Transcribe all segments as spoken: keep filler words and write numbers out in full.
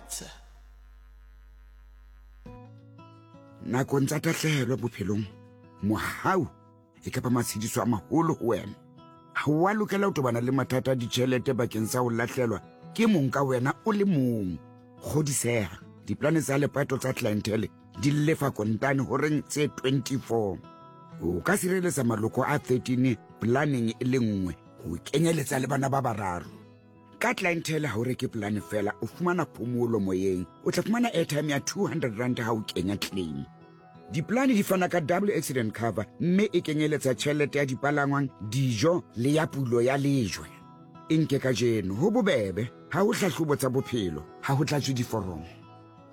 Net. Nakong tsa tahlehelo bophelong, mohau e kapa matshediso a maholo ho wena. Ha o a lokela ho tobana le mathata a ditjhelete bakeng sa ho lahlelwa ke mong ka wena o le mong. Kgodiseha, diplane tsa lepato tsa Clientele di lefa kontane horeng tse twenty-four. O ka sireletsa maloko a thirteen planeng e le nngwe ho kenyeletsa le bana ba bararo. Ka Clientele ha o reke plane fela, o fumana phomolo moyeng. O tla fumana airtime ya two hundred rand ha o kenya claim. Diplane di fana ka double accident cover mme e kenyeletsa tjhelete ya dipalangwang, dijo le ya pulo ya lejwe. E nke kajeno ho bobebe, ha ho hlahlobo tsa bophelo, ha ho tlatswe diforomo.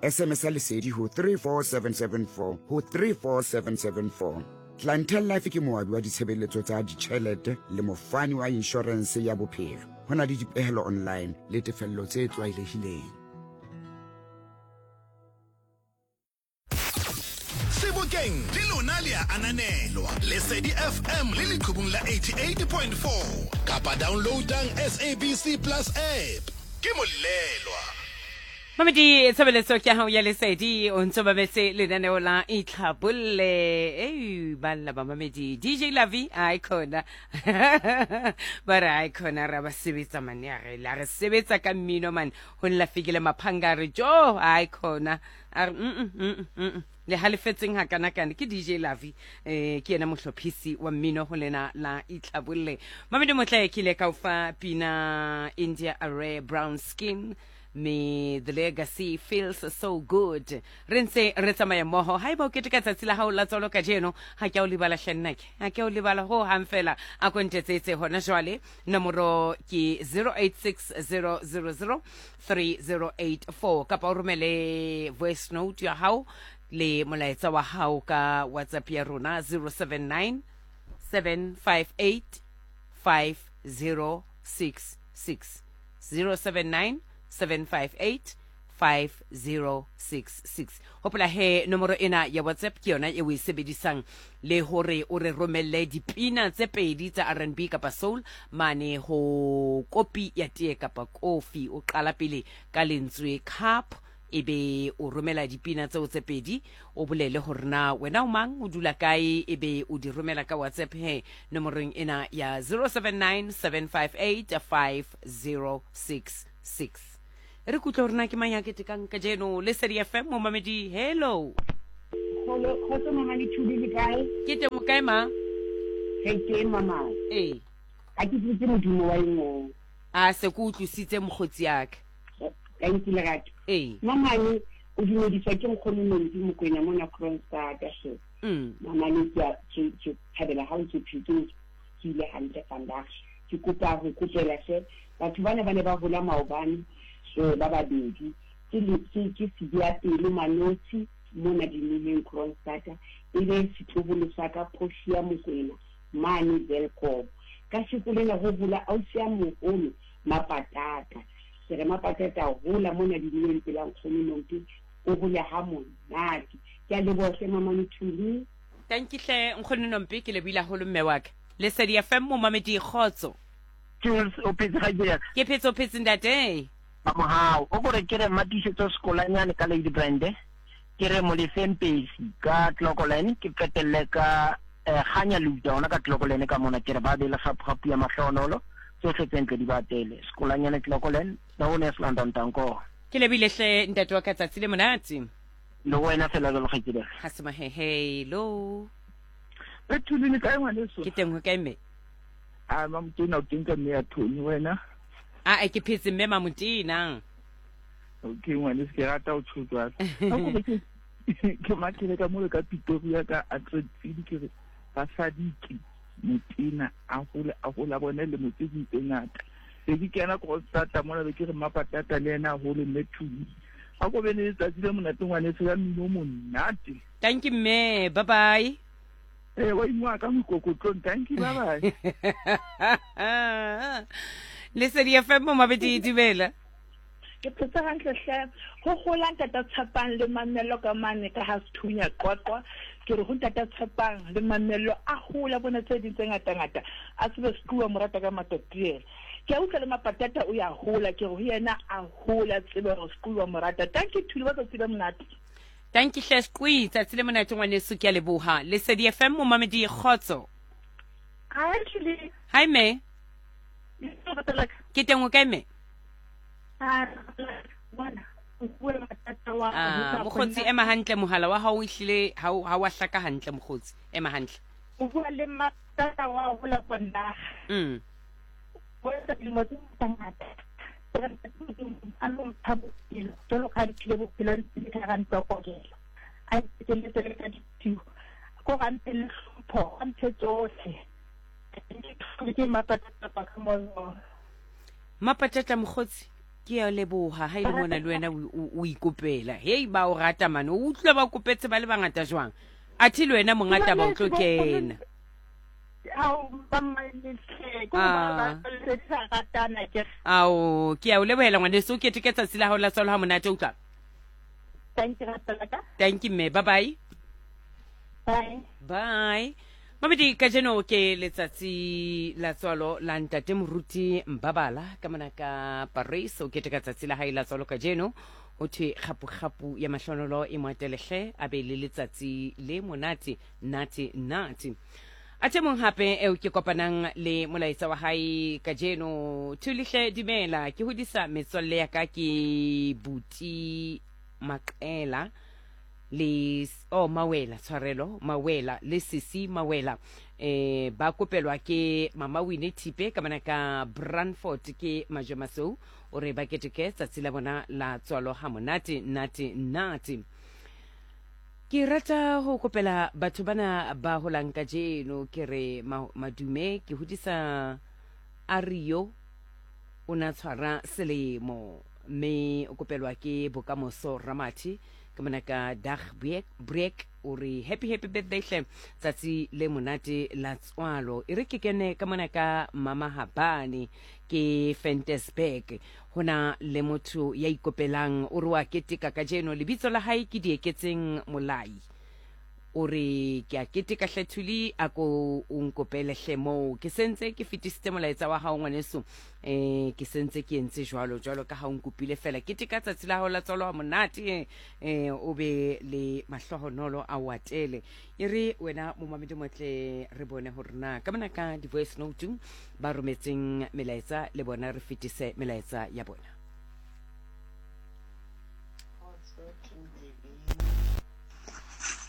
S M S ya Lesedi ho three four seven seven four ho three four seven seven four. Clientele Life ke moabi wa ditshebeletso tsa ditjhelete le mofani wa inshorense ya bophelo. Ho na le dipehelo online le tefello tse tlwaelehileng. Sebokeng le lona le a ananelwa. Lesedi F M le leqhubung la eighty-eight point four kapa downloadang S A B C Plus app. Ke molelwa. Mamedi, tshebeletso ke ya hao ya Lesedi, o ntso mametse lenaneo la Itlhabolle. Ei, banna ba mamedi, D J Lavi, ai khona. Ba re ai khona ra ba sebetsa mane, a re la re sebetsa ka mmino man, ho nla fikile maphanga re jo, ai khona. A re mm mm mm. Le halefetseng ha kana kana ke D J Lavi, eh ke yena mohlophisi wa mmino ho lena la Itlhabolle. Mamedi motle ke ile ka o fa pina India Array Brown Skin. Me the legacy feels so good. Re ntse re tsamaya mmoho. Haeba o keteka tsatsi la hao la tswalo kajeno, ha ke a o lebala hle nna ke. Ha ke a o lebala ho hang fela. A ko ntetsetse hona jwale. Nomoro ke zero eight six zero zero zero three zero eight four. Kapa o romele voice note ya hao le molaetsa wa hao ka WhatsApp ya rona zero seven nine seven five eight five zero six six. zero seven nine seven five eight five zero six six. Hopola he nomoro ena ya WhatsApp ke yona e o e sebedisang le hore o re romelle dipina tse pedi tsa R and B kapa soul mane ho kopi ya tee kapa kofi. O qala pele ka lentswe cup, ebe o romela dipina tseo tse pedi, o bolele hore na wena o mang, o dula kae, ebe o di romela ka WhatsApp he nomorong ena ya zero seven nine seven five eight five zero six six. Re kutlwe hore na ke mang ya ketekang kajeno. Lesedi F M, momamedi, hello. Hello, kgotso mama le Thuli, le kae? Ke teng, o kae ma? Re teng mama. Ee. Ha ke utlwisitse modumo wa engwe. A se ke utlwisitse mokgotsi ya ka. Thank you lerato. Ee. Mama ne o dumediswa ke nkgono Nompi Mokwena mona Kroonstad hle. Mm. Mama ne ke a ke ke thabela ha o ntse phetse ke ile hantle vandag. Ke kopa ho kopela hle batho bana ba ne ba hola maobane so ba babedi ke le ke ke Sidia pele Manotsi mona dinileng Kroonstad e le setloholo sa ka Portia Mokwena mane Welkom. Ka sekolena ho hola ausi ya moholo Mapatata. Ke re Mapatata hola mona dinileng pela nkgono Nompi o hole ha monate. Ke a leboha hle mama Nthuli. Thank you hle nkgono Nompi, ke lebile haholo mme wa ka. Lesedi F M, momamedi, kgotso. Jules, o phetse ga jena? Ke phetse, o phetse ntate. Mamohao, o kore ke re Matiisetso Sekolanyane ka Lady Brand, ke re Molefeng Pesi ka Clocolan, ke qetelle ka eh, Kganya Luta ona ka Clocolan ka mona, ke re ba be le kgapu ya mahlonolo, tsohle tse ntle di ba tele. Sekolanyane Clocolan, na o ne London tanko. Ke lebile hle ntate wa ka, tsatsi le monate. Le wena fela jalo kgaitsedi. Ha se mahehe, hello. E Thuli le kae ngwaneso? Ke teng ho kae mme? A Mamotena o teng ka mme ya Tony wena? A ke phetse mme Mamotena. Okay ngwaneso, ke rata ho tjho jwalo. Ha ko ke ke mathele ka mole ka Pretoria ka Atlantic, ke re basadi ke Motena a hole a hola bone le motse di tse ngata. Be ke kena Kroonstad mona, be ke re Mapatata le yena a hole mme Thuli. Ha ko be le letsatsi le monate ngwaneso ya mmino o monate. Thank you mme, bye bye. Eh, wa ingwa ka mokokotlong, thank you, bye bye. Lesedi F M, momamedi, dumela. Ke phetse hantle hle. Ho hola ntata Tshepang le Mamello ka mane ka ha Sethunya Qwaqwa. Ke re ho ntata Tshepang le Mamello a hola bona tse ding tse ngata ngata. A tsebe sequa morata ka matatiela. Ke a utlwa le Mapatata o ya hola, ke re ho yena a hola tsebe hore Sequi wa mo rata. Thank you Thuli, ba tsatsi le monate. Thank you hle Sequi, tsatsi le monate ngwaneso, ke a leboha. Lesedi F M momamedi kgotso. Hi Thuli. Hi me. Ke teng o kae me? Ah, bona. Ah, mokgotsi ema hantle, mohala wa hao o ehlile ha o ha wa hlaka hantle mokgotsi, ema hantle. O bua le Matata wa hola konna. Mm. O etsa dilemo tse ngata. A lo mpha bophelo, jwalo ka ha diphile bophelo ntse ka hara ntlo ya kokelo. A nketeletse le ka ditio. Ko ga mphe le hlompho, a mphe tsohle. Ke Mapatata ka mo. Mapatata mokgotsi, ke a leboha ha ile mona le wena o ikopela. Hei ba o rata mane, o utlwa ba kopetse ba le bangata jwang. Athe le wena mongata ba o tlo kena. Ao, ke a o lebohela ngwaneso, o keteke tsatsi la hao la tswalo ha monate, utlwa. Thank you ratela. Thank you mme, bye bye. Bye. Bye. Mamedi, kajeno ke letsatsi la tswalo la ntate Moruti Mbabala ka mona ka Paris. O keteka tsatsi la hae la tswalo kajeno. Ho thwe kgapu-kgapu ya mahlonolo e moatelehle, a be le letsatsi le monate nate nate. Athe mong hape eo ke kopanang le molaetsa wa hae kajeno. Thulihle dumela, ke hodisa metswalle ya ka ke Buti Maqela le oh Mawela, tshwarelo Mawela le Sisi Mawela, eh ba kopelwa ke Mama Winnie Thipe ka mona ka Brandfort ke Majomasou. O re ba keteke tsatsi la bona la tswalo ha monate nate nate. Ke rata ho kopela batho bana ba holang kajeno, ke re madume, ke hodisa Ario o na tshwara selemo mme o kopelwa ke Bokamoso Ramathi ke mona ka Dag Break. O re happy happy birthday hle, tsatsi le monate la tswalo. E re ke kene ka mona ka Mama Habane ke Fentesburg. Hona le motho ya ikopelang, o re wa keteka kajeno, lebitso la hae ke Dieketseng Molai. O re ke a keteka hle Thuli, a ko o nkopele hle moo. Ke sentse ke fetisitse molaetsa wa hao ngwaneso, eh ke sentse ke entse jwalo jwalo ka ha o nkopile fela. Keteka tsatsi la hao la tswalo ha monate, eh o be le mahlohonolo a o atele. E re wena momamedi motle, re bone hore na ka mona ka di-voice note ba rometseng melaetsa le bona, re fetise melaetsa ya bona.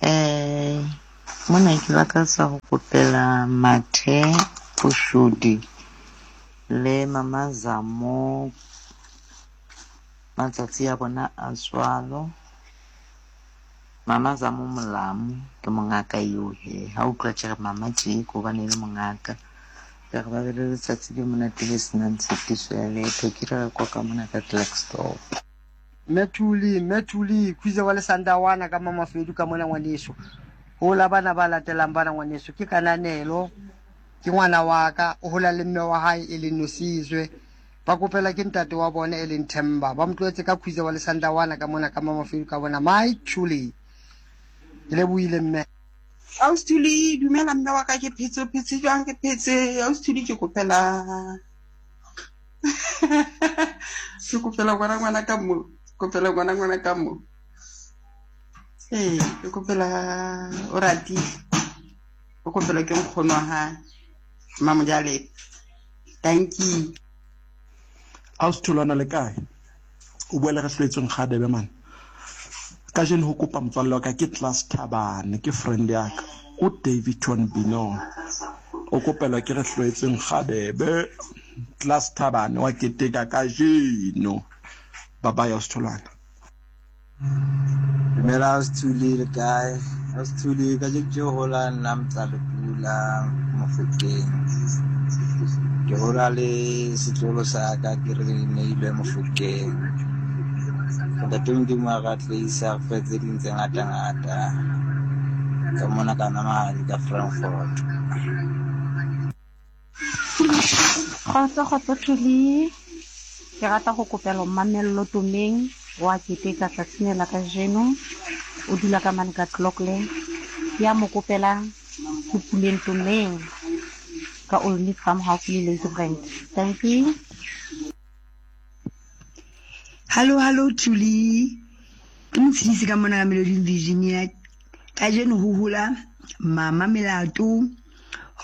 Eh, mona ke lakatsa ho kopela Mathe Pushudi le Mama Zamo matsatsi a bona a tswalo. Mama Zamo Molamu ke mongaka eo he, ha utlwa tjhe mama tje ko bane le mongaka. Ke re ba be le letsatsi le monate le senang tshitiso ya letho. Ke re kwa ka mona ka Klerksdorp. Methuli, Methuli, khuze wa le Sandawana ka Mama Fedu ka mona ngwaneso. Hola bana ba latelang bana ngwaneso, ke kananelo, ke ngwana wa ka, o hola le mme wa hae e leng Nosizwe. Ba kopela ke ntate wa bona e leng Themba. Ba motloetse ka khuze wa le Sandawana ka mona ka Mama Fedu ka bona. My Thuli. Ke lebohile mme. Austhuli, dumela mme wa ka, ke phetse, phetse jwang, ke phetse. Austhuli ke kopela. Ke kopela ngwana ngwana ka mo. Kopela ngwana ngwana ka mo. Ee, ke kopela o ratile. O kopela ke nkgono wa hae. Mamojale. Thank you. Austhulwana le kae? O bua le re hlwetsweng Kgadebe man. Kajeno ho kopa motswalle wa ka ke Class Thabane, ke friend ya ka. O Davidton Bino. O kopelwa ke re hlwetsweng Kgadebe. Class Thabane wa keteka kajeno. Bye bye Austhulwana. Dumela Austhuli, le kae? Austhuli ka je ke hola nna Mtsalepula Mofokeng. Ke hola le setlolo sa ka ke re neilwe Mofokeng. Ntate Modimo a re atleisa re fe tse ding tse ngata-ngata ka mona ka Namahadi ka Frankfurt. Kgotso kgotso Thuli, ke rata go kopela Mamello Tumeng wa keteka tsatsing la kajeno. O dula ka mane ka Clockland. Ya mo kopela ke Puleng Tumeng Ka Olney Farm haufi le Ladybrand. Thank you. Hallo, hallo Thuli. Ke motshedisi ka mona ka Meloding Virginia. Kajeno ho hola mama Melato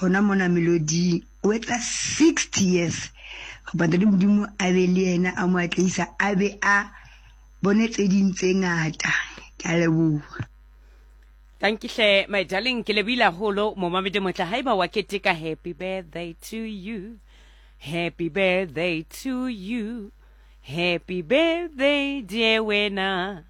hona mona Melody o etsa sixty years. Go ntate Modimo a be le yena a mo atlehisa a be a bone tse ding tse ngata. Ke a leboha. Thank you hle my darling, ke lebile haholo momamedi motla haeba wa keteka. Happy birthday to you, happy birthday to you, happy birthday dear wena,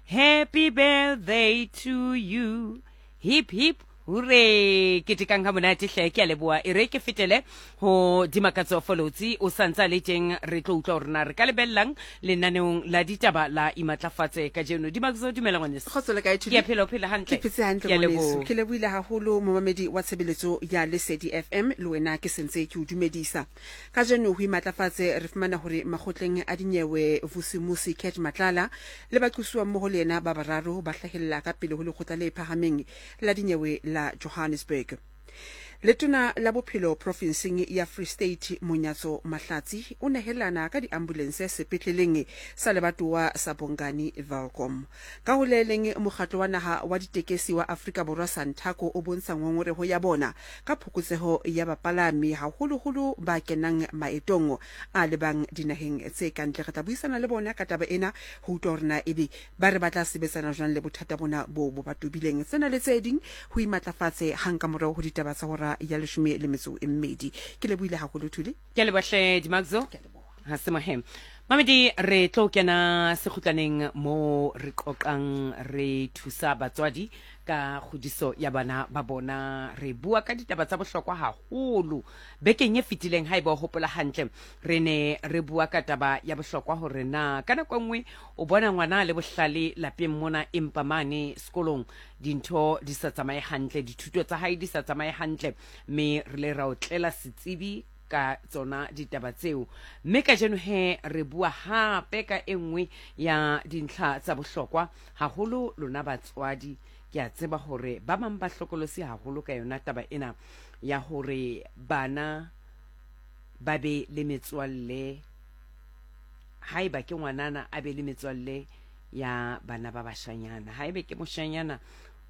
happy birthday to you, hip hip hooray. Ketekang ha monate hle, ke a leboha. E re ke fetele ho Dimakatso Folotsi, o santsa le teng, re tlo utlwa hore na re ka lebellang lenaneong la ditaba la Imatlafatse kajeno. Dimakatso, dumela ngwaneso. Kgotso le kae, Thuli? Ke a phela, o phela hantle. Ke phetse hantle, Ke a ngwaneso. leboha. Ke lebohile haholo momamedi wa tshebeletso ya Lesedi F M, le wena ke sentse ke o dumedisa. Kajeno ho Imatlafatse re fumana hore makgotleng a dinyewe Vusimusi Cat Matlala le baqosuwa mmoho le yena ba bararo ba hlahella ka pele ho lekgotla le phahameng la dinyewe la Johannesburg. Letona la bophelo profinseng ya Free State Monyatso Mahlatsi o nehelana ka diambulense sepetleleng sa lebatowa sa Bongani Welkom. Ka ho le leng, mokgatlo wa naha wa ditekesi wa Afrika Borwa Santaco o bontsha ngongoreho ya bona ka phokotseho ya bapalami haholoholo ba kenang maetong a lebang dinaheng tse kantle. Re tla buisana le bona ka taba ena ho utlwa hore na ebe ba re ba tla sebetsana jwang le bothata bona bo bo ba tobileng. Tsena le tse ding ho Imatlafatse hang ka morao ho ditaba tsa hora ya leshome le metso e mmedi. Ke lebohile haholo Thuli. Ke a leboha hle Dimakatso. Ha se mohem. Mamedi, re tlo kena sekgutlaneng mo re qoqang, re thusa batswadi ka kgodiso ya bana ba bona. Re bua ka ditaba tsa bohlokwa haholo. Bekeng e fetileng haeba o hopola hantle, re ne re bua ka taba ya bohlokwa hore na ka nako e nngwe o bona ngwana le bohlale lapeng mona, empa mane sekolong dintho di sa tsamaye hantle, dithuto tsa hae di sa tsamaye hantle, mme re le ra o tlela setsebi ka tsona ditaba tseo. Mme kajeno he re bua hape ka e nngwe ya dintlha tsa bohlokwa haholo. Lona batswadi, ke a tseba hore ba bang ba hlokolosi haholo ka yona taba ena ya hore bana ba be le metswalle. Haeba ke ngwanana a be le metswalle ya bana ba bashanyana, haebe ke moshanyana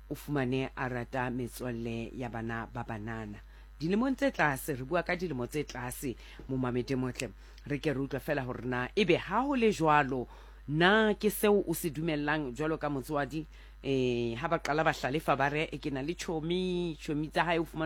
o fumane a rata metswalle ya bana ba banana. Dilemong tse tlase, re bua ka dilemo tse tlase, momamedi motle, re ke re utlwa fela hore na ebe ha ho le jwalo, na ke seo o se dumellang jwalo ka motswadi? Eh, ha ba qala ba hlalefa ba re e ke na le chomi, chomi tsa hae o fumana